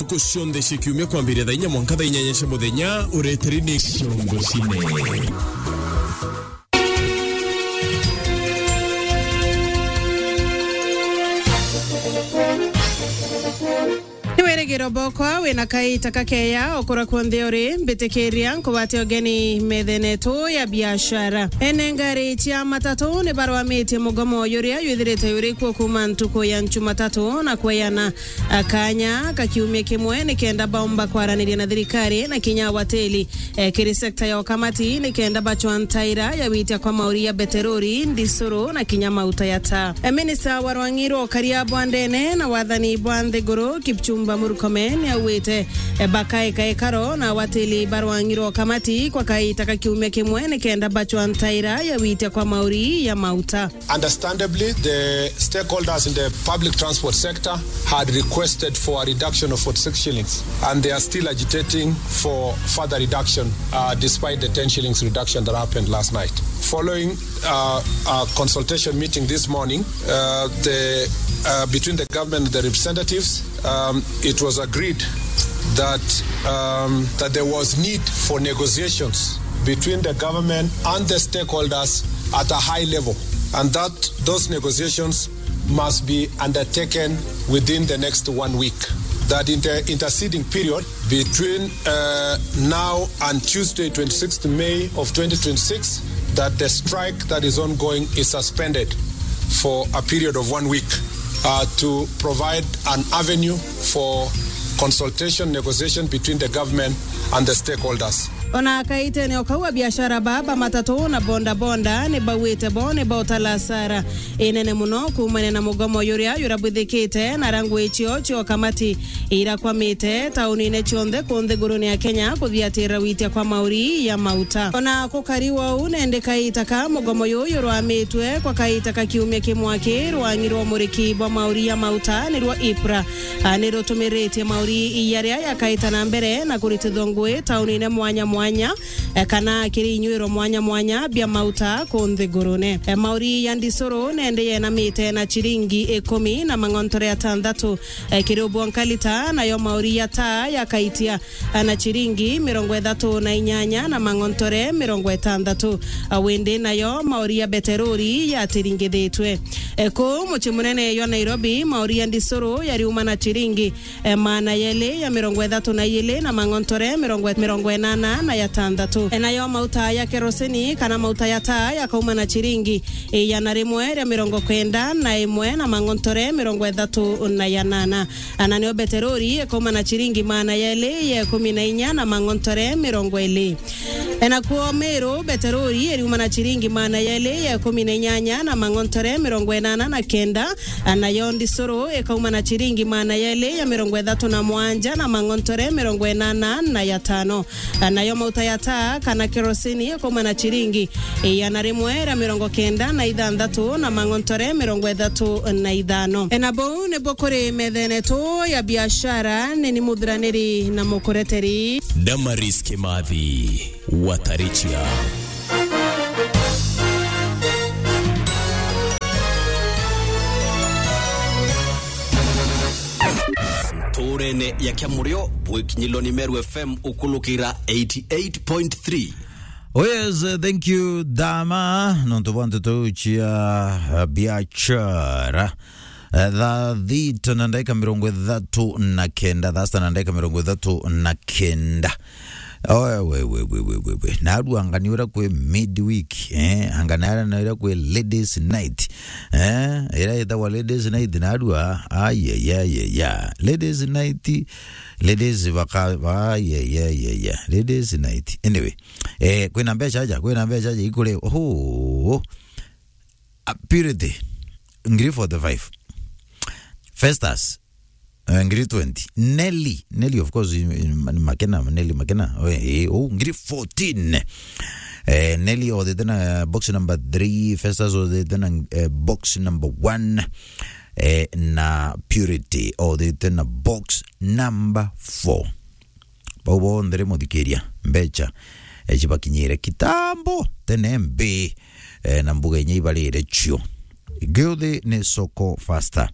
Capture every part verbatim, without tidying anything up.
Ntuku cionthe cia kiumia kwambiria thaa inya mwanka thaa inyanya cia muthenya, ureteri ni Ciongo Cine. Ni wirigiro bokwa wina kaita kakeya ukura kunthe uri, mbitikiria nkugwate ugeni methene yetu ya biashara. Ene ngari cia matatu ni barwamitie mugomo juria jwithirite juri kuo kuuma ntuku ya Njumatatu na kweyana akanya ka kiumia kimwe nikenda baumba kwaraniria na thirikari na kinya awateli, eh, kiri sekta ya ukamati nikenda bachwa ntaira ya witia kwa mauri ya beterori, ndisuru na kinya mauta ya taa. Eh, minista wa rwangi rwa ukaria bwa ndene na wathani bwa nthiguru, Kipchumba Murkomen, niaugite, eh, bakaeka ikaro na awateli ba rwangi rwa ukamati kwa kaita ka kiumia kimwe nikenda bachwa ntaira ya witia kwa mauri ya mauta. Understandably, the stakeholders in the public transport sector had requested for a reduction of forty-six shillings, and they are still agitating for further reduction, uh, despite the ten shillings reduction that happened last night. Following, uh, a consultation meeting this morning, uh, the, uh, between the government and the representatives, um, it was agreed that, um, that there was need for negotiations between the government and the stakeholders at a high level, and that those negotiations must be undertaken within the next one week. That in the interceding period between, uh, now and Tuesday, twenty-sixth May of twenty twenty-six, that the strike that is ongoing is suspended for a period of one week, uh, to provide an avenue for consultation, negotiation between the government and the stakeholders. Ona kaitene o kau, abiashara ba, ba matatu na boda boda ni bauite bo ni bautala hasara inene muno kuumania na mugomo juria jurabwithikite na rangu icio cio kamati irakwamite taunine cionthe ku nthigurune ya Kenya kuthiatira witia kwa mauri ya mauta. Ona kukari wou, nende kaita ka mugomo juju jurwamitwe kwa kaita ka kiumia kimwe aki, rwangi rwa umuriki bwa mauri ya mauta niruo IPRA, a, ni rutumiritie mauri jaria jakaita na mbere na kuritithwa ngui taunine mwanya mwanya, e, kana kiri inyuiro mwanya mwanya bia mauta ku nthigurune. E, mauri ya ndisuru nende yenamite na chiringi ikumi na mang'ontore atantatu, e, kiri ubwonka lita, nayo mauri ya taa yakaitia, e, na chiringi mirongo ithatu na inyanya na mang'ontore mirongo itantatu. E, windi nayo mauri ya beterori yatiringithitwe. E, kuu mucii munene jwa Nairobi, mauri ya ndisuru yariuma na chiringi e, maana yeli ya mirongo ithatu na iili na mang'ontore mirongo, mirongo inana na yatantatu. E, nayo mauta ya kerosini kana mauta ya taa yakauma na chiringi igana rimwe ria mirongo kenda na imwe na mang'ontore mirongo ithatu na yanana. E, na nio beterori ikauma na chiringi maana yeli ya ikumi na inya na mang'ontore mirongo ili. E, nakuo Meru, beterori iriuma na chiringi maana yeli ya ikumi na inyanya na mang'ontore mirongo inana na kenda, e, nayo ndisuru ikauma na chiringi maana yeli ya mirongo ithatu na mwanja na mang'ontore mirongo inana na yatano. E, nayo mauta ya taa kana kerosini ikauma na chiringi igana rimwe ria mirongo kenda na ithanthatu na mang'ontore mirongo ithatu na ithano. E, na buu nibo kuri methene yetu ya biashara, ni ni muthuraniri na mukureteri Damaris Kimathi. Watarichia. Nturene ya Kiamurio, bwikinyilwa ni Meru F M ukulukira eighty eight point three. Oh yes, uh, thank you, Dama. Nontu bwa nteto cia, uh, biachara. Eh, thaa thita na ndagika mirongo ithatu na kenda, thaa sita na ndagika mirongo ithatu na kenda. Oe, we, we, we. Narua anga ni uria kwi midweek, eh, anga ni uria kwi ladies night. Eh, iria itagwa ladies night narua, ai, ai, ai, ai, ai. Ladies night, ladies baka, ai, ai, ai, ai, ai. Ladies night. Anyway, eh, kwina mbeca aja, kwina mbeca aja ikure. Oho. Ah, Purity, ngiri forty-five. Festus, eh, ngiri twenty. Nelly, Nelly, of course, in, in, in Makena, Nelly Makena. Oh, eh, oh, ngiri fourteen. Eh, Nelly othite na box number three, Festus othite na, eh, box number one, eh, na Purity othite na box number four. Bau bonthe ri muthikiria, mbeca, eh, cibakinyire kitambo tene mbi, eh, na mbuga inya ibarire cio. Giuthi ni soko faster.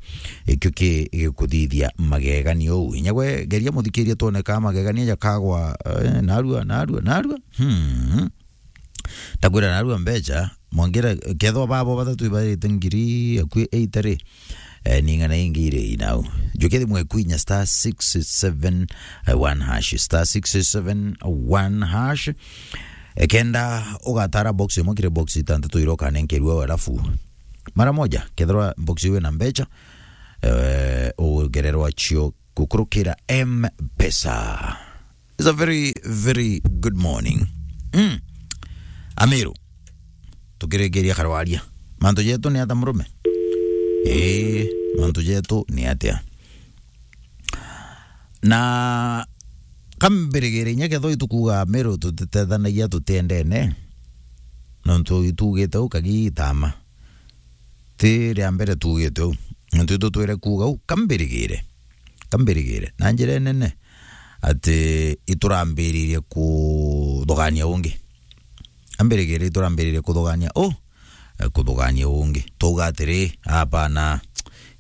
Ikio ki gikuthithia magegania uu. Inya gwe geria muthikiria twone ka magegania jakagwa, eh, narua, narua, narua. Hmm. Ndakwira narua mbecha, mwangira kethwa babo bathatu ibarite ngiri akui eight ri. Eh, ni ng'ana ingi iri inau. Njuke thimwe kwinya star six seven one hash, star six seven one hash. Ekenda ugatara box imwe kiri box itantatu iria ukanenkerua, alafu mara moja, kethirwa box iu ina mbecha, eh, ugererwa cio gukurukira M-Pesa. It's a very, very good morning. Mm. Amiru, tukirikiria karwaria. Mantu jetu ni ata, murume? Ii, mantu jetu ni atia? Na kambirigire inya kethwa itukuga Amiru tutitethanagia tutiendene, nontu itugite u kagitama. Ti ria mbere tuugite uu. Nontu itutwire kuuga uu, kambirigire. Kambirigire. Na njira inene, ati iturambiririe kuthugania ungi. Ambirigire iturambiririe kuthugania u, eh, kuthugania ungi. Twauga atiri, "Apana,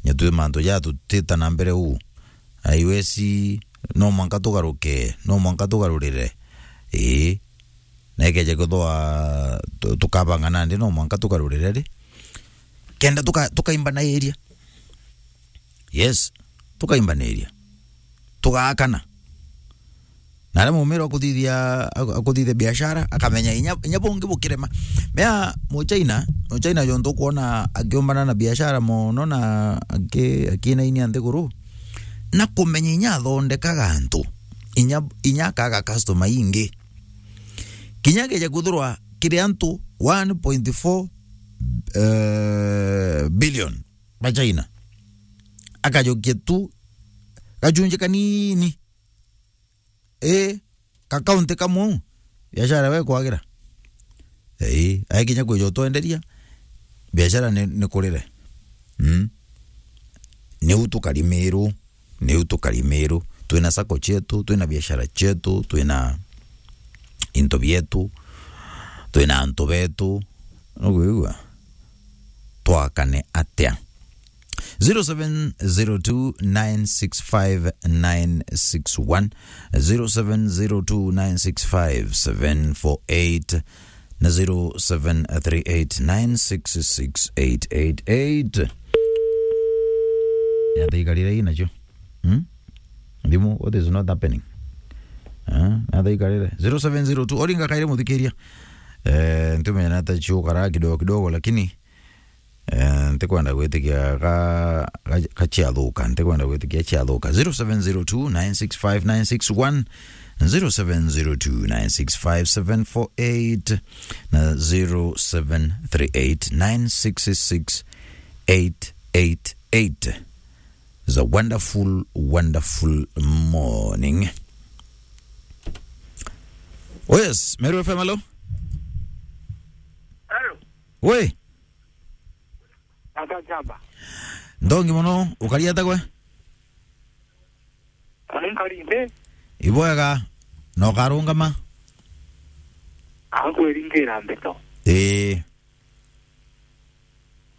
nyetwi mantu jaa tutita na mbere uu. Aiwesi, no mwanka tugaruke, no mwanka tugarurire." Ii. Na ikeja kwithwa tu-, tukabanga nandi, no mwanka tugarurire ri. Kenda tuka-, tukaimbanagiria. Yes, tukaimbaniria. Tugaakana. Na aria mumira akuthithia, aku-, akuthithia biashara, akamenya inya, inya bungi bukirema. Mea Muchina, Muchina jontu ukwona akiumbana na biashara mono na aki-, akinainia nthiguru, na kumenya inya athondekaga antu, inya, inya akaga customer ingi. Kinya akeja kwithirwa kiri antu one point four, eh, billion ba China, akajukia tu gachunji kanini, ii, ka kaunti kamwe u, biashara we kwagira. Ii, aikinya kwija utwenderia, biashara ni, ni kurire. Mm. Niu tukari Miru. Niu tukari Miru, twina sacco cietu, twina biashara cietu, twina into bietu, twina antu betu. Nukwigua? Twakane atia? Zero seven zero two nine six five nine six one, zero seven zero two nine six five seven four eight. Na zero seven three eight nine six six eight eight eight. Ni atia ikarire ii nacio? Hmm? Thimu, what is not happening? Eh, ni atia ikarire? Zero seven zero two, oringa kaire muthikiria. Eh, ntumenya na ata ciukara kidogo kidogo, lakini Eh, ntikwenda gwitikia ga, ga, ga ciathuka, ntikwenda gwitikia ciathuka. Zero seven zero two nine six five nine six one, zero seven zero two nine six five seven four eight na zero seven three eight nine six six eight eight eight. It's a wonderful, wonderful morning. Oh yes, Meru F M, hello? Hello. Oi. Ata chamba. Ndongi mono, ukari ata gwe? Ari nkari nthi. Ibwega, na ukarungama? Ankwiringira mbito. Ii.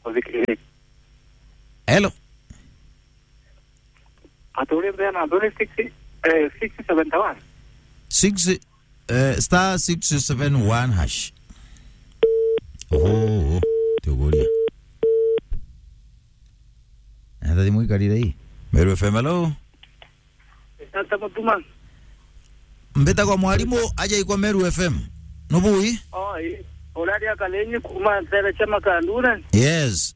Uthikirire. Hello. Aturi mbena mbere six, eh, six seventy one. Six, eh, star six seven one hash. Oho, tuguria. Ata thimu ikarire ii? Meru F M, hello? Tata Mutuma. Mbitagwa mwarimu aja ikwa Meru F M. Nubui? Oi, uraria Kalenyi kuma ntere cia Makandure. Yes.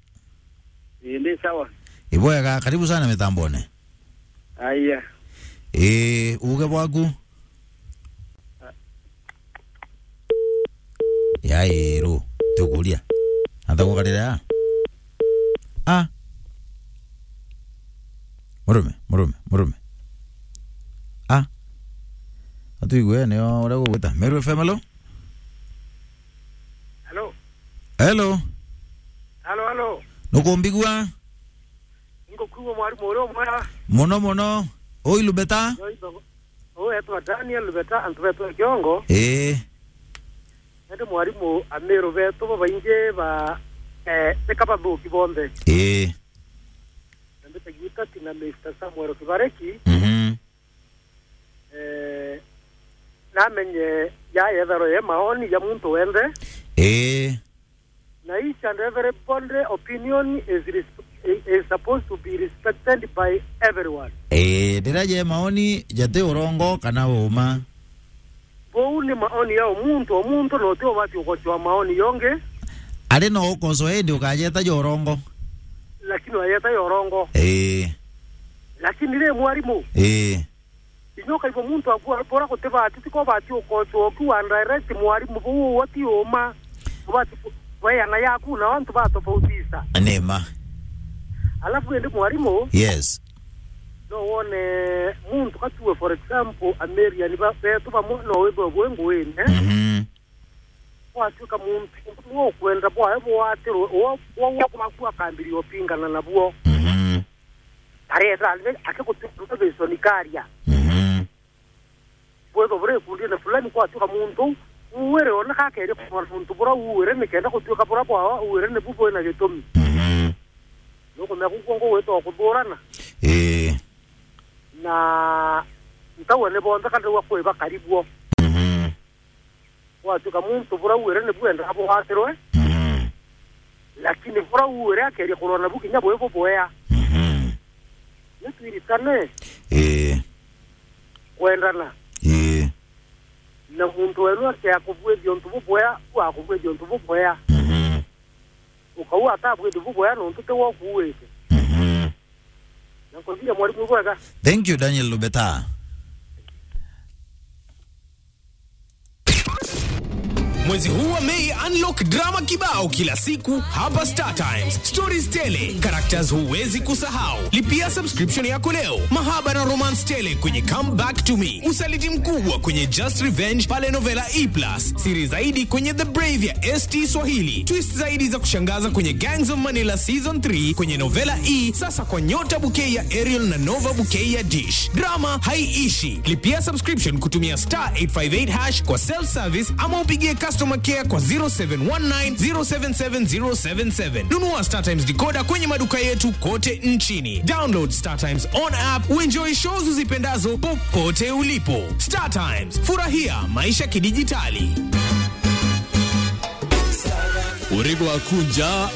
Ii, ndi sawa. Ibwega, karibu sana mitambone. Aya. Ii, uge bwaku. Yairo, tukuria. Ata gukarira ya? Ah. Murume, murume, murume. Ah. Atuigue nio uria gugwita. Meru F M, hello? Hello. Hello. Hello, hello. Nukumbigua? Ngukwigua mwarimu uria umwega. Muno muno. Ui Lubeta? Yo, ito-, uu etwa Daniel Lubeta, antu betwa Kiongo. Ii. Indi mwarimu, Amiru betu babaingi ba, Eh, ni kaba thuki bonthe. Ii. Na mbita Gitati na Mister Samuel Kibareki. Mhm. Eh, namenye ya yethero ye maoni ya muntu wenthe. Ii. Na each and everybody opinion is resp-, is supposed to be respected by everyone. Ii, ndira je maoni jati urongo kana uma. Bou ni maoni ya o muntu, o muntu no ti ubati ukocoa maoni yongi. Ari no ukocoa indi ukajeta ja urongo. Lakini wajeta ja urongo. Ii. Lakini ri mwarimu. Ii. Inya ukaigua muntu akua bora gutibati, tiko bati ukocoa ukiwa direct mwarimu bou uwe ti uma. Ubati ku-, weana yaku na antu batofautisha. Ni ma. Alafu indi mwarimu. Yes. No wone muntu katue, for example, Amerian ba-, betu bamwe no withwe bwi nguine. Mhm. Gwatuika muntu ukwenda bwawe bwatirwe, uo, uo, uo gwaku akambiria upingana nabuo. Mhm. Areta akigutuika ntabiconi karia. Mhm. Bwethwa buri ikundine fulani, gwatuika muntu uuire oneka akeria kurwa na muntu bura uuire, nikenda gutuika bura bwawe uuire nibu bwina gitumi. Mhm. Nukumenya kukwongo gwitwa kuthurana. Ii. Na ntauga ni bonthe kana riu akui bakari buo. Mhm. Gwatuika muntu bura uuire nibu endaa bwatirwe. Mhm. Lakini bura uuire akeria kurwa nabu kinya bwi bubwea. Mhm. Ni twiritane. Ii. Kwendana. Ii. Na muntu wenu akea kubwithia untu bubwea, bu akubwithia untu bubwea. Mhm. Ukauga atabwithia bubwea nontu ti we ukuuite. Mhm. Na nkuthire mwarimu bwega. Thank you, Daniel Lubeta. Mwezi huu wa Mei, unlock drama kibao kila siku hapa Star Times. Stories tele, characters huwezi kusahau. Lipia subscription yako leo. Mahaba na romance tele kwenye Come Back to Me. Usaliti mkubwa kwenye Just Revenge pale Novela E plus. Siri zaidi kwenye The Brave ya S T Swahili. Twist zaidi za kushangaza kwenye Gangs of Manila Season three kwenye Novela E, sasa kwa Nyota Bouquet ya Ariel na Nova Bouquet ya Dish. Drama haiishi. Lipia subscription kutumia star eight five eight hash kwa self service ama upigie customer care kwa zero seven one nine zero seven seven zero seven seven. Nunua Star Times decoder kwenye maduka yetu kote nchini. Download Star Times on app, uenjoy shows uzipendazo popote ulipo. Star Times, furahia maisha kidijitali. Urigo akunja